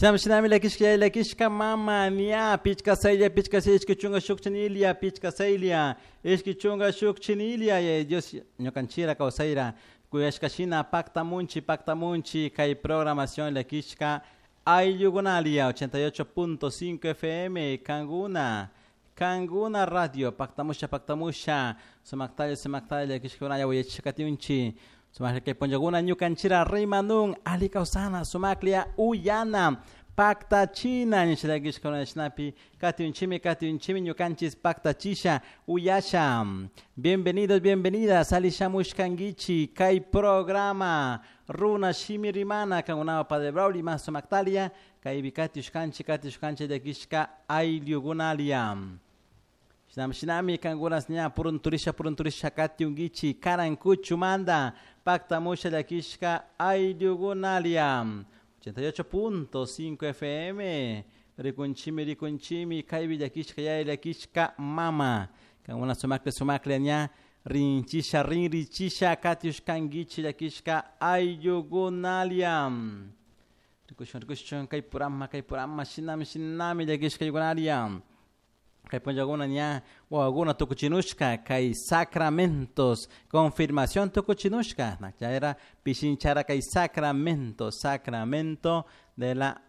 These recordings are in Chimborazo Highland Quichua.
Shinami shinami llakishka llakishka mama ña pichka saylla pichka saylla 21 chinilia pichka saylla 21 chinilia. Yaya Dios ñukanchira kawsayra kuyashka shina paktamunchi paktamunchi kay programación llakishka ayllukunalia 88.5 FM kankuna kankuna radio paktamusha paktamusha sumaktalla sumaktalla llakishkakunalla uyachishkatiunchi sumaklla kay punllakuna ñukanchira rimanun ali kawsana sumaklla uyana paktachina nisha llakishkuna shinapi katiunchimi katiunchimi ñukanchis paktachisha uyasha. Bienvenidos, bienvenidas alishamushkankichi kay programa Runa Shimi Rimana kankunawan Padre Braulio mas sumaktalia kaypi katiushkanchik katiushkanchik llakishka ayllukunalia. Shinami shinami kankunas ña purunturisha purunturisha katiunkichik Karankuchumanta paktamusha llakishka ayllukunalia. 88.5 FM rikunchimi rikunchimi kaypi llakishka yaya llakishka mama kankuna sumaklla sumaklla ña rinchisha rinrichisha katiushkankichik llakishka ayllukunalia. Rikushun rikushun kay purama shinami shinami llakishka ayllukunalia. Kay punllakuna ña wawakuna tukuchinushka kay sacramentos confirmación tukuchinushka chayra pishinchara kay sacramento sacramento de la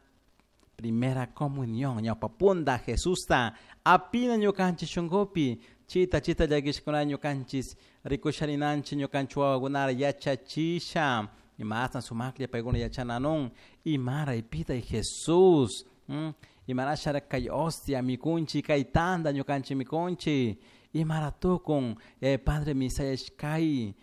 primera comunión ñawpa punta Jesusta apina ñukanchik shunkupi chita chita llakishkuna ñukanchis rikusharinanchik ñukanchik wawakunara yachachisha imashna sumaklla paykuna yachananun imara pitay Jesús imarashara kay hostia mikunchik kay tanta ñukanchik mikunchik imara tukun Padre misayashkay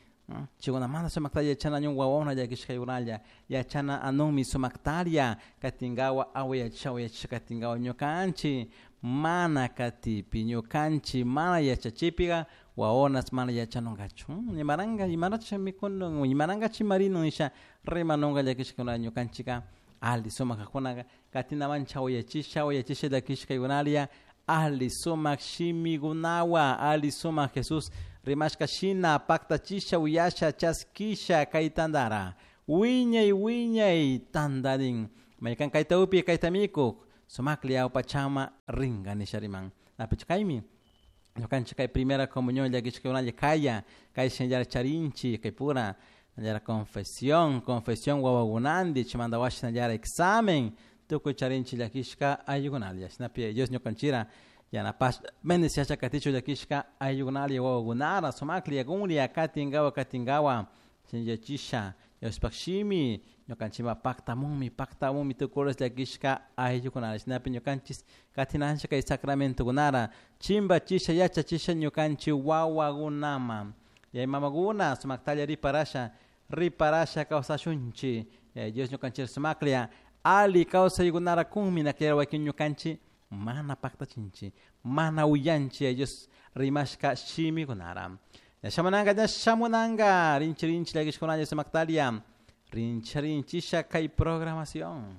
chaykunamanta sumakta yachana ñun wawakuna llakishkaykunalla yachana anunmi sumaktaria katinkawa awayachisha awayachisha katinkawa ñukanchik mana katipi ñukanchik mana yachachipika wawakunas mana yachanunkachu imaranka imaracha mikunun imaranka chimarinun nisha rimanunka llakishkakuna ñukanchika ali sumak kakunaka katinawan chawayachisha awayachisha llakishkaykunalia ali sumak shimikunawan ali sumak Jesús rimashka shina paktachisha uyasha chaskisha kay tantara wiñay wiñay tantarin maykan kayta upi kayta mikuk sumaklla awpachama rinka nisha riman napichu kaymi ñukanchik kay primera comunión llakishkakunalla kaya kay shinallara charinchik kay pura shinallara confesión confesión wawakunanti chaymanta washa shinallara examen tukuy charinchik llakishka ayllukunalla shinapi Dios ñukanchira yanapash bendiciasha katichun llakishka ayllukunalla wawakunara sumaklla kunlla katinkawa katinkawa shinallachisha Dioshpak shimi ñukanchikpak paktamunmi paktamunmi tukuy llakishka ayllukunara shinapi ñukanchik katinanchik kay sacramentokunara chimbachisha yachachisha ñukanchik wawakunaman yaya mamakuna sumaktalla riparasha riparasha kawsashunchik Dios ñukanchik sumaklla ali kawsaykunara kunmi naklla wakin ñukanchik mana paktachinchik mana uyanchik Dios rimashka shimikunara. Ña shamunanka ña shamunanka rinchi rinchi llakishkunalla sumaktalia rinchi rinchisha kay programación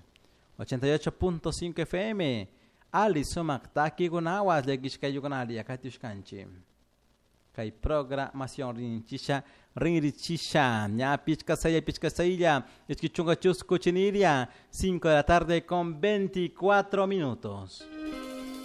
88.5 FM ali sumak takikunawan llakishka ayllukunalia katiushkanchik kay programación rinchisha rinrichisha ña pichka saylla pichka saylla 22 chinilia 5 de la tarde con 24 minutos.